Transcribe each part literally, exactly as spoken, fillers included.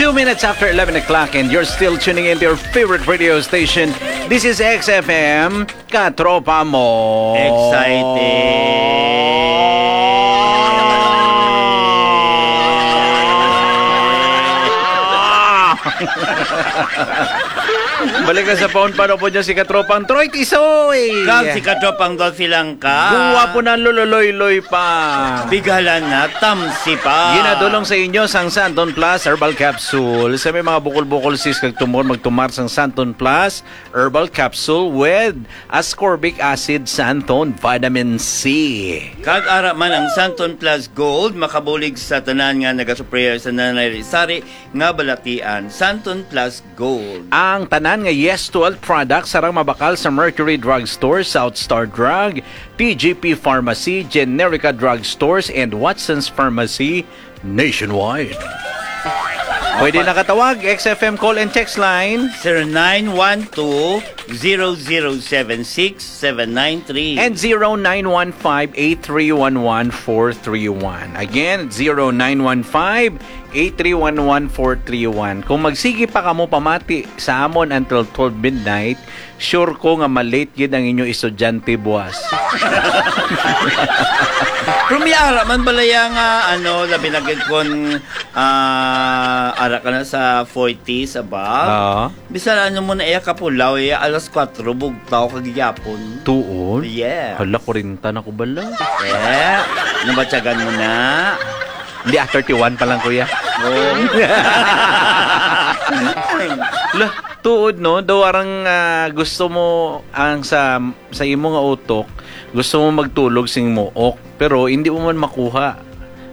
Two minutes after eleven o'clock and you're still tuning in to your favorite radio station. This is X F M, Katropa Mo. Excited. Balik na sa phone, paano po niya si Katropang Troy Tisoy? Kag si Katropang Dolphy lang ka. Guwapo na, lululoy-loy pa. Bigalan na, tamsi pa. Ginadulong sa inyo sang Santon Plus Herbal Capsule. Sa may mga bukol-bukol, sis, kag tumor, magtumar sang Santon Plus Herbal Capsule with ascorbic acid, Santon, vitamin C. Kag ara man ang Santon Plus Gold, makabulig sa tanan nga nagasupplier sa nanay sari nga balatian. Santon Plus Gold. Ang tanan nga Yes Twelve products sarang mabakal sa Mercury Drug Store, South Star Drug, T G P Pharmacy, Generica Drug Stores, and Watson's Pharmacy nationwide. Pwede nakatawag, X F M call and text line. Zero nine one two, zero zero seven six, seven nine three. And zero nine one five, eight three one one, four three one. Again, zero nine one five, eight three one one, four three one. Kung magsigi pa kamo pamati sa amon until twelve midnight, sure ko nga malate gid ang inyo estudyante buwas. Pero may ara man balaya nga, ano, labi na gid kon, ah, ara ka na sa forties above. Oo. Bisan ano mo na iya kapulaw, iya alas kuwatro, bugtaw ka gihapon. Tuod? Yes. Hala, kwarenta na ko bala. Eh, nabatyagan mo na. Hindi, ah, thirty-one pa lang, kuya. Oh. La, tuod, no? Daw arang, ah, gusto mo ang sa, sa imo nga utok, gusto mo magtulog sing muok, pero hindi mo man makuha.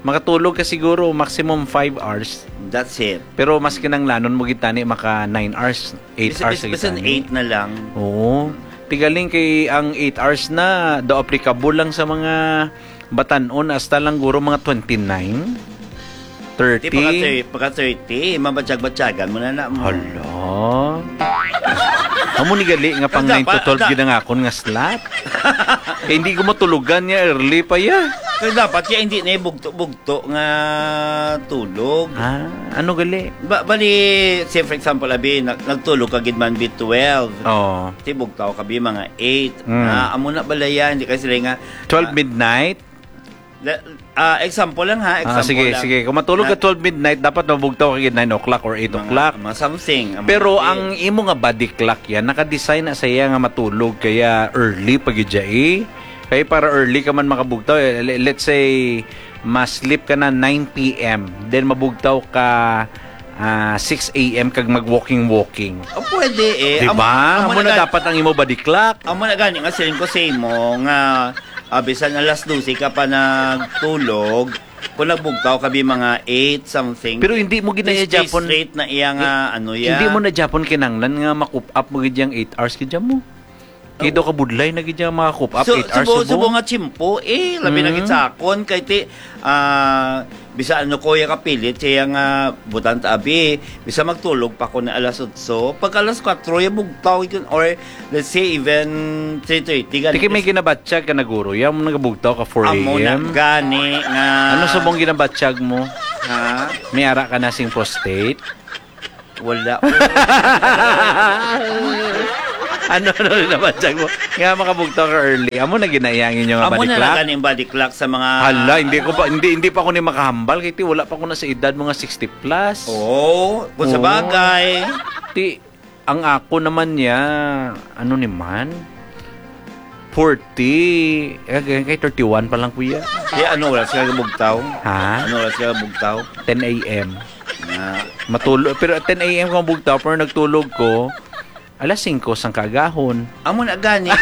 Makatulog ka siguro maximum five hours. That's it. Pero mas kinanglanon mo gid tani maka nine hours, eight Bis-, hours bis-, sa bisan gitani. Eight na lang. Oo. Tigaling kay ang eight hours na daw applicable lang sa mga batan-on hasta lang guro mga twenty-nine, Di, pagka thirty. Thir-, pagka thirty, mabatyag-batyagan mo na na mo. Hala. Amo ni gali nga pang Ang dapat, nine to twelve ang da- gid ang akon nga slot. Kay hindi ko matulugan niya early pa ya. Kaya dapat ya hindi na bugto-bugto nga tulog. Ah, ano gali? Ba, bali, say for example, abi, nag-, nagtulog ka gid man bi twelve. Oo. Ti bugtaw ka bi mga eight. Mm. Ah, amo na balaya, hindi ka sila nga, Twelve ah, midnight? La-, ah, example lang ha, Ah, example sige, lang. sige. Kung matulog ka Na- twelve midnight, dapat mabugtaw ka gid nine o'clock or eight Mga, o'clock. mga something, ang Pero mga ang imo nga body clock yan, naka-design na sa iya nga matulog kaya early pa gid siya, eh. Kaya para early ka man makabugtaw, eh, le-, let's say, ma-sleep ka na nine p m, then mabugtaw ka, ah, six a m kag mag-walking-walking. Oh, pwede eh. Di Amo, ba? amo Amo na na gan-, dapat ang imo body clock. Amo na gani nga siling ko sa imo nga, ah, bisan alas dose ka pa nagtulog, kung nagbugtaw ka bi mga eight something, Pero hindi mo gid na stay, iya stay Japon. Straight na iya nga, Hi-, ano, iya. Hindi mo na Japon kinanglan nga ma-coop up mo gid yang eight hours gid mo. Kay daw kabudlay na gid niya maka-coop up, So, eight hours subo, subo. Subo nga tiyempo, eh, labi na Mm. gid sa akon, kay ti, ah, bisa ano ko, ya kapilit, siya nga butang ta abi, bisa magtulog pa ko na alas otso. Pag alas kuwatro, ya bugtaw, yun, or let's say, even three thirty, ganun. Tiki may ginabatyag ka na, guro, ya mo nagabugtaw ka four a m. Amo na, gani nga. Ano sa mong ginabatyag mo? Ha? May ara ka na sing prostate? Wala. Ano, ano rin naman, Chag, mo? Nga makabugtaw ka early. Amo na ginayang inyo nga Amo body na clock? Lang ganing body clock sa mga Hala, hindi ko pa, hindi, hindi pa ako ni makahambal. Kaya ti, wala pa ko na sa edad, mga sixty plus. Oo, kung sa Oo. bagay. Ti, ang ako naman niya, ano ni man? Forty. Eh, kay, kay thirty-one pa lang, kuya. Kaya ano oras ka bugtaw? Ha? Ano oras ka bugtaw? Ten a m. Na. Matulog, pero at ten a m ko bugtaw, pero nagtulog ko, alas singko sang kaagahon. Amo na gani nga,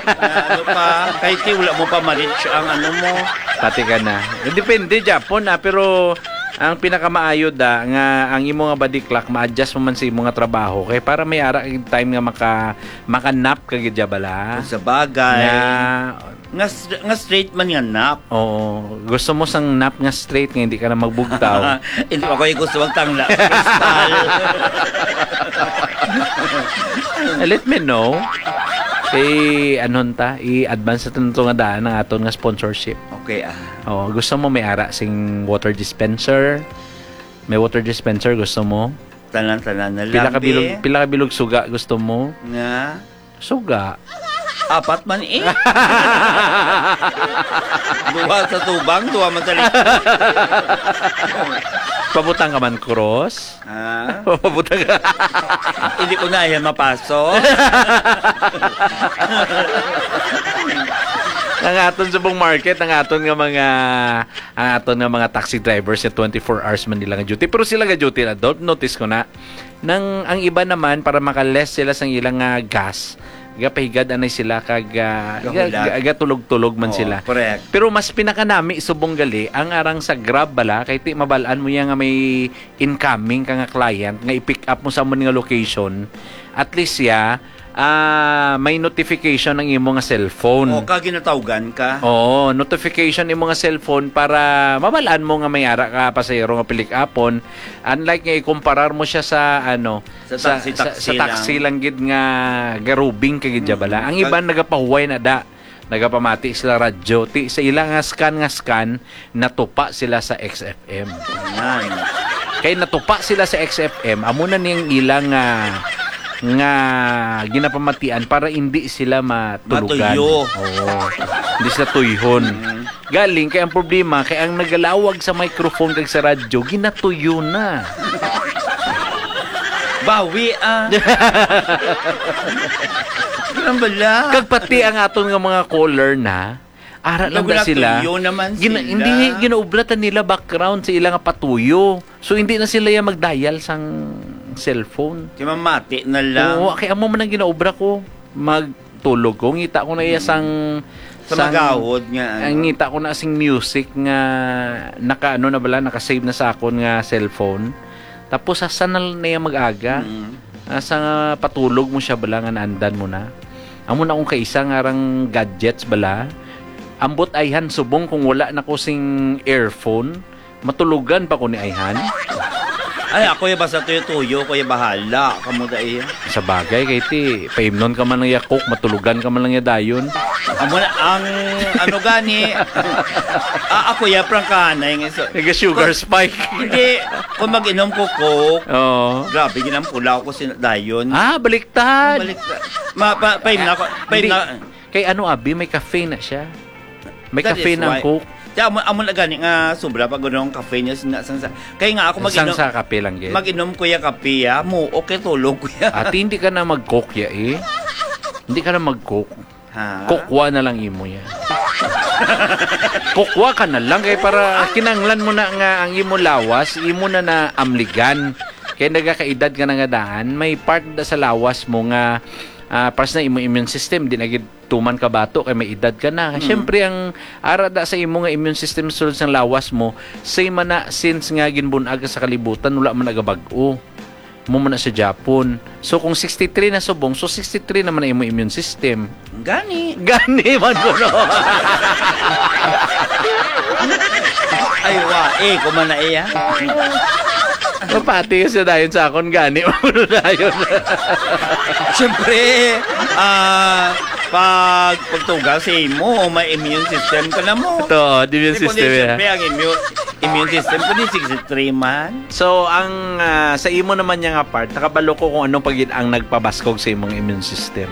nga ano pa, kay ti wala mo pa ma-reach ang ano mo. Pati ka na. Eh, depende, Japon, ah, pero ang pinakamaayo da, nga ang imo nga body clock, ma-adjust mo man sa imo nga trabaho. Kay para may ara kag time nga maka, maka-nap ka gid, bala. Kung sa bagay. Nga, Nga s-, nga straight man nga nap. Oo. Gusto mo sang nap nga straight nga hindi ka na magbugtaw? Hindi pa ko gusto magtangla sa kristal. Eh, let me know. I-, ano ta? I-advance natin ito nga daan ang aton nga sponsorship. Okay, ah. Oo, gusto mo may ara sing water dispenser? May water dispenser, gusto mo? Tanan-tanan na lang, Pila ka bilog, be. Pila ka bilog suga gusto mo? Nga? Suga. Apat man eh. Duha sa tubang, duha man sa likod. Pabutang ka man, cross? Ah? Pabutang ka. Hindi ko na yan mapaso. Ang aton subong market, ang aton nga mga, ang aton nga mga taxi drivers nga twenty-four hours man nila nga duty. Pero sila nga duty na, don't notice ko na. Nang ang iba naman, para maka-less sila sang ilang, ah, gas, gapahigad anay sila kag, ah, Gahulat. ga-, ga-, gatulog-tulog man Oo, sila. Correct. Pero mas pinakanami subong gali ang arang sa Grab bala, kay ti mabal-an mo ya nga may incoming ka nga client nga i-pick up mo sa amo nga location. At least ya, ah, may notification ang imo nga cellphone. O, ka ginatawgan ka. Oo, notification imo nga cellphone para mabal-an mo nga may ara ka pasahero nga pilik-apon. Unlike nga ikumparar mo siya sa, ano, Sa sa, taxi, sa, taxi sa taxi lang. lang gid nga garubing ka gid dya bala. Mm. Ang Kag- iban nagapahuway na da. Nagapamati sila radyo. Ti, sa ila nga scan, nga scan, natupa sila sa X F M. Yan. Kay natupa sila sa X F M, amo na niyang ilang, ah, nga ginapamatian para hindi sila matulugan. Matuyo. Oo. Hindi sila tuyhon. Mm. Galing kay ang problema kay ang nagalawag sa microphone kag sa radyo, ginatuyo na. Bawi, ah. Ganun bala. Kag pati ang aton nga mga caller na, ara lang da sila. Nagulatuyo naman Gina-, sila. Hindi, ginaubra ta nila background sa ila nga patuyo. So, hindi na sila ya mag-dial sang cellphone. Kay mamati na lang. Oo, kay amo man ang ginaubra ko. Magtulog ko, ngita ko na iya sang, Sa sang, magawod nga, ano. ang ngita ko na sing music nga naka, ano na bala, naka-save na sa akon nga cellphone. Tapos, asa na lang na iya mag-aga? Mm. Asa nga patulog mo siya bala nga naandan mo na? Amo na akong kaisa nga arang gadgets bala. Ambot ayhan subong kung wala na ko sing earphone, matulugan pa ko ni ayhan. Ay, ako ya basta tuyo-tuyo, ko ya bahala. Kamo da iya. Sa bagay, kay ti, paimnon ka man lang ya Coke, matulugan ka man lang ya dayon. Amo na, ang ano gani, ah, ako ya, prangkahanay nga iso. Nag-sugar spike. Hindi, kung mag-inom ko Coke, Oo. grabe, ginampulaw ko sin-, dayon. Ah, baliktad. Balik, ma, pa, paim na ko, paim Hindi. na. Kay ano, abi, may caffeine na siya. May That caffeine is ang why. Coke. Kaya amo, amo na gani nga sobra pa gud ang caffeine niya sa, sa, sa, kay nga ako Sang mag-inom, sa kape lang, gid. mag-inom ko ya kape, ya. Mo, okay, tulog ko ya. Ati, hindi ka na mag-Coke ya, eh. Hindi ka na mag-Coke. Ha? Kokwa na lang imo ya. Kokwa ka na lang, kay para kinanglan mo na nga ang imo lawas, imo na na amligan. Kay nagakaedad ka na nga daan, may part da sa lawas mo nga, ah, pas na imo immune system, di na gid tuman ka bato kay may edad ka na. Mm. Siyempre, ang ara da sa imo nga immune system sulod sang lawas mo, same man na since nga ginbun-ag ka sa kalibutan, wala man nagabag-o. Mo man na sa Japon. So, kung sixty-three na subong, so sixty-three naman na imo immune system. Gani. Gani man ko, no? Ay, wa, eh, kuman na iya. Mapati ka sa dayon sa akon, gani man ko dayon. Siyempre, ah, pag, pagtuga sa imo, may immune system ka na mo. Ito, di immune Di, kundi system, eh. siyempre, ang immune, immune system ko di sixty-three man. So, ang, ah, sa imo naman niya nga part, nakabalo ko kung anong pagid ang nagpabaskog sa imong immune system.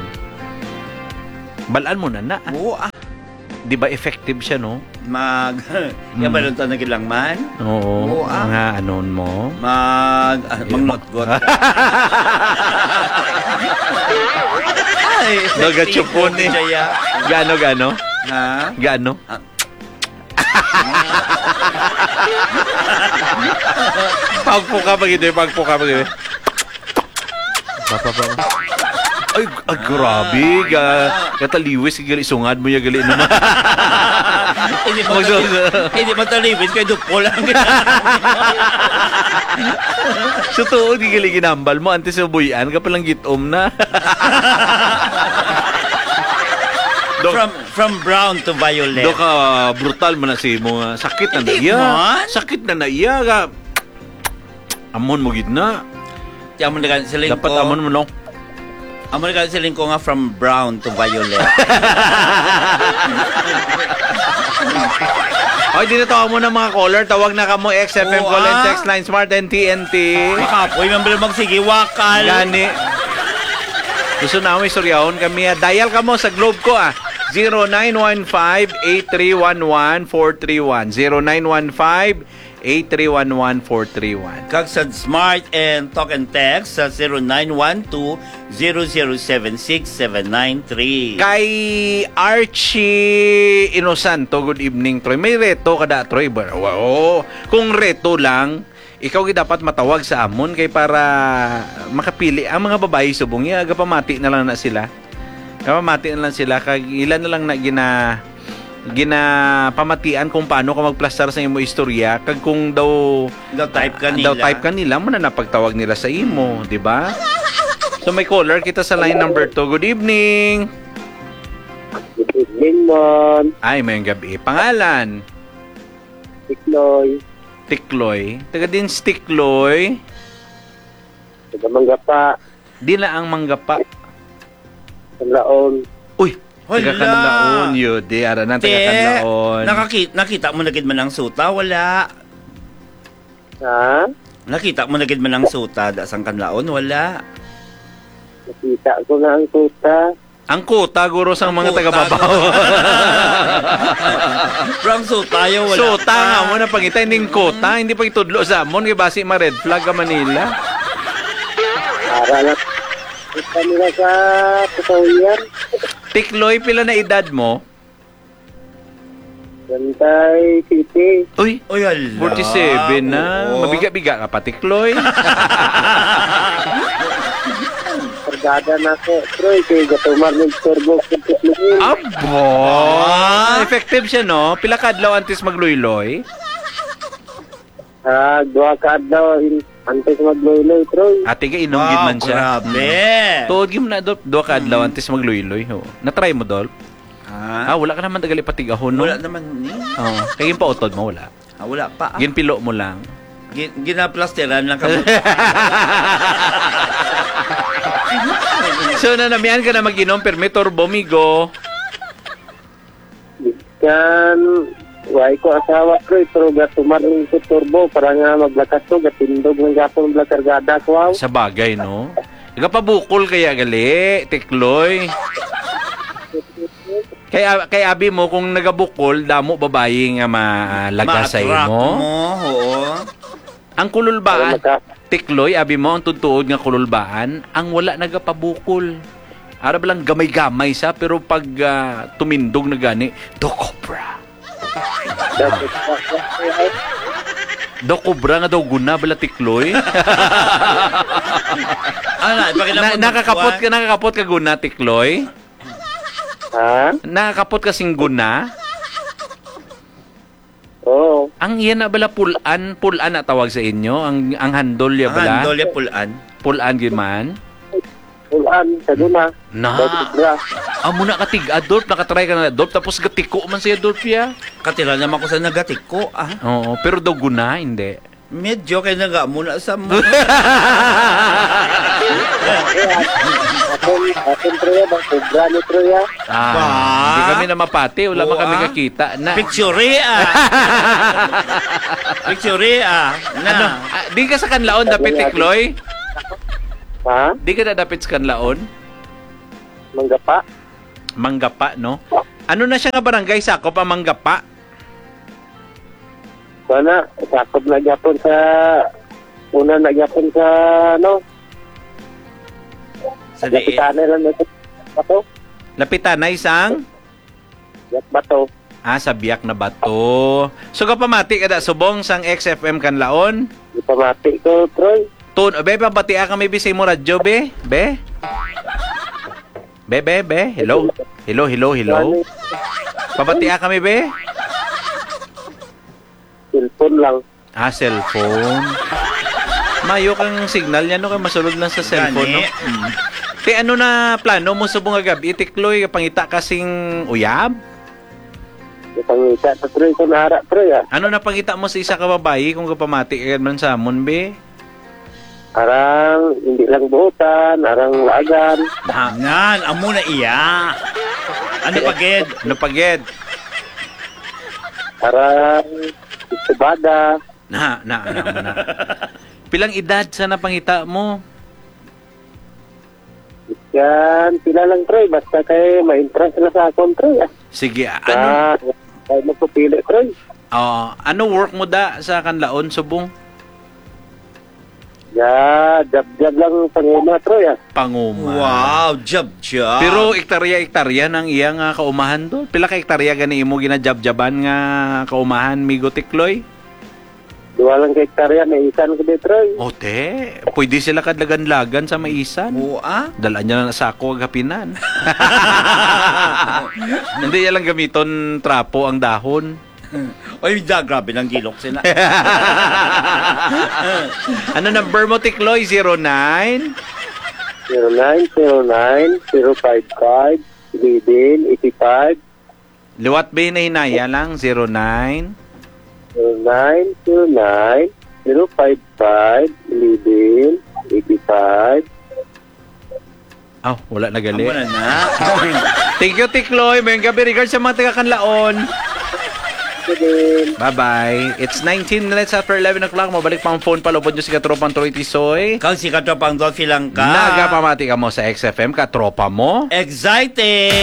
Balaan mo na na. Oo, ah. Di ba effective siya, no? Mag, Mm. kabaluntan na gid lang man. Oo, Oo, ah. nga anon mo. Mag, ah, Yun. mangnotgot. Ay, Nagatsupon effective eh. siya. Gano, gano? Ha? Gano? Ah. Pagpuka pa gid, eh, pagpuka pa gid, eh. Papa, papa. Ay, ay, grabe. Ga-, kataliwis, gali, sungad mo ya, gali naman. Hindi mo Magsa- tali-, hindi mo taliwis, kay dupo lang. Sa tuod, gali ginambal mo, antes mo buyan, ka palang gitom na. Dok, From, from brown to violet. Dok, ah, brutal man na si mo nga. Sakit na na Hindi iya. man. Sakit na na iya. Ga-, Amon mo gid na. Ti amon na gani, siling Dapat ko. amon mo, no? Amo na ka siling ko nga from brown to violet. Oy, di na tawag mo na mga caller. Tawag na kamo, X F M Oo, call and ah. Text line, Smart and T N T. Makapoy man ba magsige, wakal. Gani. Gusto na mo istoryahon kami, ah. Dial kamo sa Globe ko, ah. Zero nine one five, eight three one one, four three one. Zero nine one five, eight three one one, four three one. Kag sa Smart and Talk and Text sa zero nine one two, zero zero seven six, seven nine three. Kay Archie Inosanto, good evening, Troy. May reto kada, Troy, ba? Oo. Kung reto lang, ikaw gid dapat matawag sa amon kay para makapili ang mga babayi subong iya, gapamati na lang na sila. Gapamati na lang sila kag ila na lang na gina ginapamatian kung paano ka magplastar sa imo istorya kag kung daw Daw type ka daw nila. Type ka nila, mo na napagtawag nila sa imo, di ba? So may caller kita sa line number two. Good evening. Good evening, Mon. Ay, may gabi. Pangalan? Tikloy. Tikloy. Taga din si Tikloy. Taga Manggapa. Di na ang Manggapa. Kanlaon. Uy, taga Hala! Kanlaon, yun. Di, ara na, taga Te, Kanlaon. nakaki-, nakita mo na gid man ang suta? Wala. Ha? Nakita mo na gid man ang suta da sang Kanlaon? Wala. Nakita ko na ang suta. Ang kuta, guro, sang Ang mga kuta, taga-Babaw. guro. Pero ang suta, yo, wala Suta pa. nga mo na pangitay ning kuta, hindi pa itudlo sa amon, kay basi ma-red flag ka Manila. Para lang. Kita nila sa kasawian. Tikloy, pila na edad mo? Bantay City. Uy, Uy, hala. Forty-seven na. Oo. Mabiga-biga ka pa, Tikloy. Kargada na ko, Troy, kay gatumar ng turbo ko sa Tikloy. Abo! Ah. Effective siya, no? Pila ka adlaw antes magluyloy? Ah, duha ka adlaw in-, antes magluyloy, Troy. Ate, ga inom gid Wow, man siya. grabe. Mm. Tuod gyud na, Dol. Duha ka adlaw Mm. antes magluyloy, ho. Na-try mo, Dol? Ah? Ah, wala ka naman tagali patigahon, no? Wala naman ni. Oh, kay yung pautod mo, wala. Ah, wala pa, ah. Ginpilo mo lang. Gin-, ginaplasteran lang kami. So, nanamian ka na mag-inom, permi turbo, migo. Kan, why ko asawa, Troy, pero gatuman ko turbo para nga maglakas to, gatindog ng gapon bala kargada ko, aw. Sa bagay, no? Nagapabukol kaya gali, Tikloy. Kay, a-, kay abi mo, kung nagabukol, damo babayi nga ma-, ah, laga sa Ma-attract imo. mo, oo. Ang kululbaan, Ay, maka- Tikloy, abi mo, ang tutuod nga kululbaan, ang wala nagapabukol. Ara ba lang gamay-gamay sa, pero pag, ah, tumindog na gani, daw cobra. Daw cobra nga daw guna, bala, Tikloy. Ano, ipakita Na-, mo, nakakapot ka, nakakapot ka guna, Tikloy? Ha? Nakakapot ka sing guna? Oo. Ang iya na bala, pulan, pulan na tawag sa inyo? Ang, ang handol ya Ang bala? handol ya, pulan. Pulan gyud man? Pulan, sa guna. Na. Daw cobra. Amo na ka tig-, Adolf, nakatry ka na, Adolf, tapos gatiko man siya, Adolf, ya. Katira naman ko sa nagatiko, ah. Oo, pero daw guna, hindi. Medyo kay naga mo na sa mo. Aton, aton, Troy, bang cobra ni Troy, ah? Ah, Ba? hindi kami na mapati. Wala man Oo, kami ah. kakita na. Picture, ah. Picture, ah. Na. Ano? Ah, di ka sa Kanlaon, dapit, Tikloy? Ha? Di ka na dapit sa Kanlaon? Manggapa? Manggapa, no? Ano na siya nga barangay sakop ang Manggapa? Wala, sakop na gyapon sa, una na gyapon sa, ano? Sa diin? Lapitan na lang na sa bato. Lapitan na isang? Yak bato. Ah, sa Biak na Bato. So, kapamati ka da, subong sang X F M Kanlaon? Ipamati ko, Troy. Tun-, be, pabatia kami, be, sa imo radyo, be? Be? Be, be, be? Hello? Hello, hello, hello? Pabatia kami, be? Cellphone lang. Ah, cellphone. Mayo kang signal niya, no? Kay masulod lang sa cellphone, no? Gani. Mm. Te, ano na plano mo subong nga gab-i, Tikloy? Pangita ka sing uyab? Pangita sa Troy, kung ara, Troy, ah. Ano na pangita mo sa isa ka babayi kung kapamati ka man sa amon, be? Arang, hindi lang buotan, arang laagan. Ha? Nan, amo na iya. Ano pa gid? Ano pa gid? Arang, isubada. Na, na, na, na. Pilang edad sa napangita mo? Yan, pila lang, Troy. Basta kay ma-entrance na sa akon, Troy, ah. Sige, ah, ano? Ah, kay magpapili, Troy. Oh, ano work mo da sa Kanlaon, subong? Ya, jab-jab lang panguma, Troy, ah. Panguma. Wow, jab-jab. Pero ektarya-ektarya nang iya nga kaumahan do. Pila ka ektarya gani imo ginajabjaban nga kaumahan, Migo Tikloy? Duha lang ka ektarya, may isan ko di, Troy. O, te, pwede sila kadlagan-lagan sa maisan. Oo, ah? Dalaan niya na sa ako, agapinan. Hindi niya lang gamiton trapo ang dahon. Oy, da, grabe lang gilok sila. Ano number mo, Tikloy? Zero nine? Zero nine zero nine zero five five eleven eighty five. Liwat ba hinahinaya lang? Zero nine? Zero nine zero nine zero five five eleven eighty five. Aw, wala na gali. Amo na na. Thank you, Tikloy. Mayong gabi. Regards sa mga taga Kanlaon. Good din. Bye-bye. It's nineteen minutes after eleven o'clock. Mabalik pa ang phone pa. Lubod nyo si Katropang Troy Tisoy. Kag si Katropang Dolphy lang ka. Nagapamati ka mo sa X F M, katropa mo. Exciting!